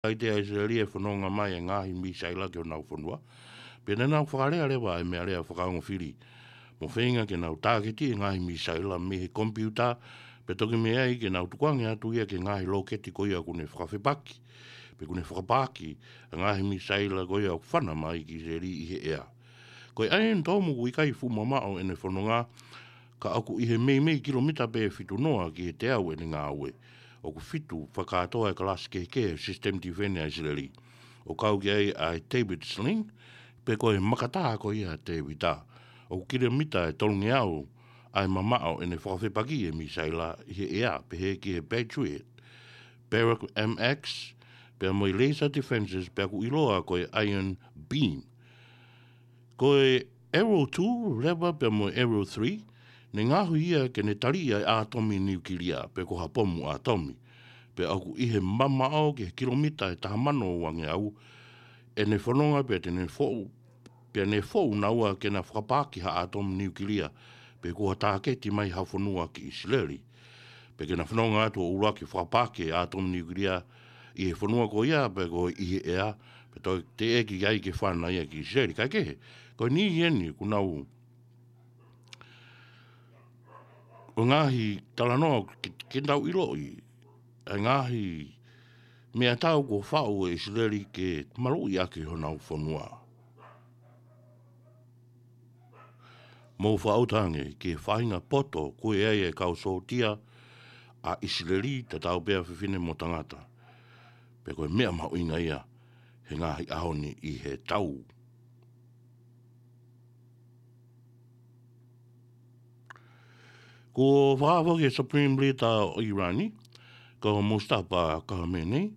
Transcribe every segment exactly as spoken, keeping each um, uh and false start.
ʻikai te ʻa ʻIsileli ʻe fononga mai e ngaahi misaila ki honau fonua. Pea naʻa nau fakalea leva e meʻalea fakaongo fili mo feinga ke nau tāketi e ngaahi misaila mei he komipiuta, pea toki mei ai ke nau tukuange atu ia ki he ngaahi lōketi ko ia ʻoku ne fakafepaki, pe ʻoku ne fakapaaki e ngaahi misaila ko ia ʻoku fana mai ki ʻIsileli ʻi he ʻea. Ko e Iron Dome ʻoku ʻikai fuʻu mamaʻo ʻene fononga, ka ʻoku ʻi he meimei kilomita pē ʻe fitu noa ki he teau ʻene ngāue. ʻOku fitu fakakātoa e kalasi kehekehe system defense ʻa ʻIsileli, ʻo kau ki ai ʻa e David's Sling, pe ko e makatā ko ia ʻa Tēvita. ʻOku kilomita ʻe tolungeau ʻa e mamaʻo ʻene fakafepaki e misaila ʻi he ʻea, pehē ki he Patriot, Barracks M X, pea mo e laser defenses, pea ʻoku ʻiloa ko e Iron Beam. Ko e Arrow two leva pea mo e Arrow three, ne ngaohi ia ke ne taliʻi ʻa e ʻātomi niukilia, pe ko ha pomu ʻātomi. Pea ʻoku ʻi he mamaʻo ki he kilomita ʻe taha mano uangeau ʻene fononga, pea te ne foʻu, pea ne foʻu naua ke na fakapaaki ha ʻātomi niukilia, pe ko ha tāketi mai ha fonua ki ʻIsileli. Pea ke na fononga atu ʻo ʻuluaki fakapaaki e ʻātomi niukilia ʻi he fonua ko ia, pe ko ʻi he ʻea, pea toe teʻeki ai ke fana ia ki ʻIsileli. Kae kehe, ko e niʻihi eni ʻoku nau, ʻo e ngaahi talanoa ke, ke tau ʻiloʻi, ʻa e ngaahi meʻatau kuo faʻu ʻe ʻIsileli ke maluʻi ʻaki honau fonua. Mou fakaʻuta ange ki he faʻahinga poto ʻoku ʻi ai e kau sōtia ʻa ʻIsileli, tatau pē ʻa fefine mo tangata. Pea ko e meʻa mahuʻinga ia he ngaahi ʻaho ni ʻi he tau. Kuo fakahā foki ʻe he Supreme Leader ʻo ʻIrani, ko Mustafa Khamenei,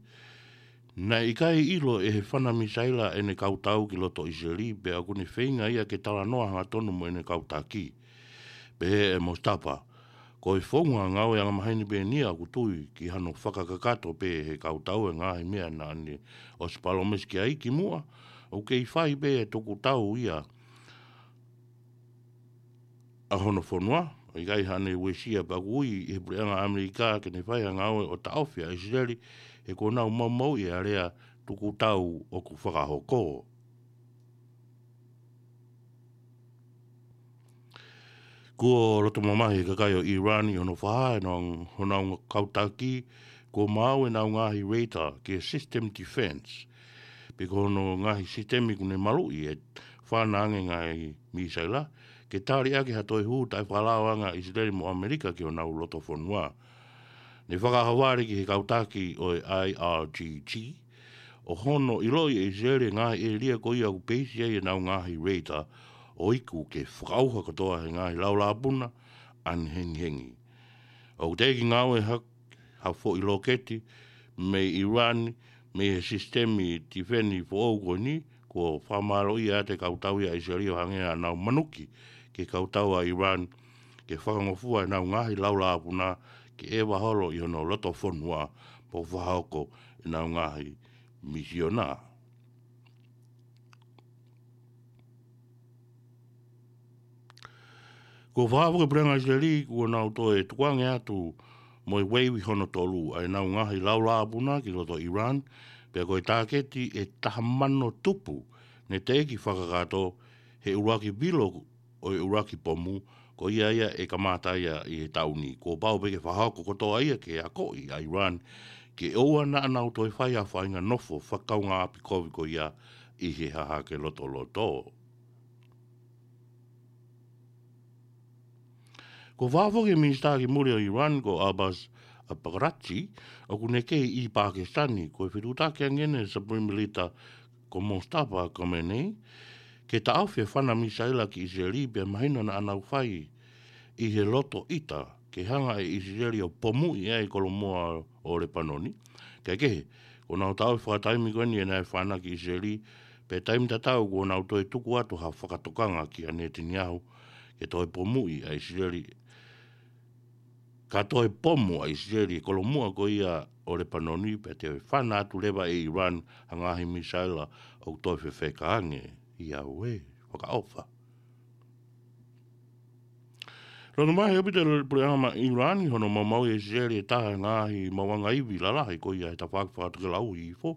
naʻe ʻikai ʻilo ʻe he fana misaila ʻene kau tau ki loto ʻIsileli, pea ʻoku ne feinga ia ke talanoa hangatonu mo ʻene kau taki. Pehē ʻe Mustafa, ko e founga ngāue angamaheni pē eni ia, ʻoku tui ki hano fakakakato pē ʻe he kau tau e ngaahi meʻa naʻa ne ʻosi palōmesi ki ai kimuʻa, ʻoku kei fai pē e tuku tau ia ʻa hono fonua, ʻikai haʻane uesia, pea ʻoku ui ʻe he puleʻanga ʻAmelika ke ne fai ha ngāue ʻo taʻofi ʻa ʻIsileli, he kuo nau maumauʻi e alea tuku tau ʻoku fakahoko. Kuo loto mamahi e kakai ʻo ʻIrani ʻi hono fakahā ʻe honau, honau kau taki kuo maau ʻenau ngaahi radar ki he system defense, pe ko hono ngaahi sisitemi ʻoku ne maluʻi e fana ange ngaahi misaila, ke tali ʻaki ha toe hū taʻefakalao ange ʻa ʻIsileli mo ʻAmelika ki honau loto fonua. Ne fakaʻaho vale ki he kau taki ʻo e I R G G, ʻo hono ʻiloʻi ʻe ʻIsileli e ngaahi ʻēlia ko ia ʻoku peisi ai ʻenau ngaahi radar, ʻo iku ke fakaʻauha kotoa he ngaahi laulāpuna ʻanehengihengi. ʻOku teʻeki ngāue ha, ha foʻi lōketi mei ʻIrani, mei he sisitemi tifeni foʻou ko eni, kuo fakamālōʻia ʻe he kau tau ia ʻa ʻIsileli ʻo hangē ʻenau manuki ki he kau tau ʻa ʻIrani, ke fakangofua ʻenau ngaahi laulāpuna ke ʻeva holo ʻi honau loto fonua, pea fakahoko ʻenau ngaahi misiona. Kuo fakahā foki ʻe he puleʻanga ʻIsileli kuo nau toe tukuange atu mo e ueivi hono tolu ʻa ʻenau ngaahi laulāpuna ki loto ʻIrani, pea ko e tāketi ʻe taha mano tupu ne teʻeki fakakakato he ʻuluaki vilo ʻo e ʻuluaki pomu, ko ia ia ʻe kamata ia ʻi he taʻu ni. Kuo pau pē ke fakahoko kotoa ia ke akoʻi ʻa ʻIrani ke ʻoua naʻa nau toe fai ha faʻahinga nofo fakakaungāʻapi kovi ko ia ʻi he hahake lotoloto. Kuo fakahā foki ʻe he minisitā ki muli ʻo ʻIrani ko Abbas Araghchi, ʻoku ne kei ʻi Pakisitani, ko e fetuʻutaki ange ʻene Supreme Leader ko Mustafa Khamenei, ke taʻofi e fana misaila ki ʻIsileli, pea mahino naʻa nau fai ʻi he loto ʻita ke hanga ʻe ʻIsileli ʻo pomuʻi ʻa e kolomuʻa ʻo Lepanoni. Kae kehe, kuo nau taʻofi fakataimi ko eni ʻenau fana ki ʻIsileli, pea taimi tatau kuo nau toe tuku atu ha fakatokanga kia Netanyahu ke toe pomuʻi ʻa ʻIsileli, ka toe pomu ʻa ʻIsileli e kolomuʻa ko ia ʻo Lepanoni, pea te fana atu leva ʻe ʻIrani ha ngaahi misaila ʻoku toe fefeka ange. ʻIa ue, fakaʻofa. Lolotonga mai he ʻaupito ʻa e puleʻanga ʻIulani hono maumauʻi ʻe Siseli ʻe taha e ngaahi maʻuʻanga ivi lalahi ko ia he tafaʻaki fakatokelau ʻi Hihifo.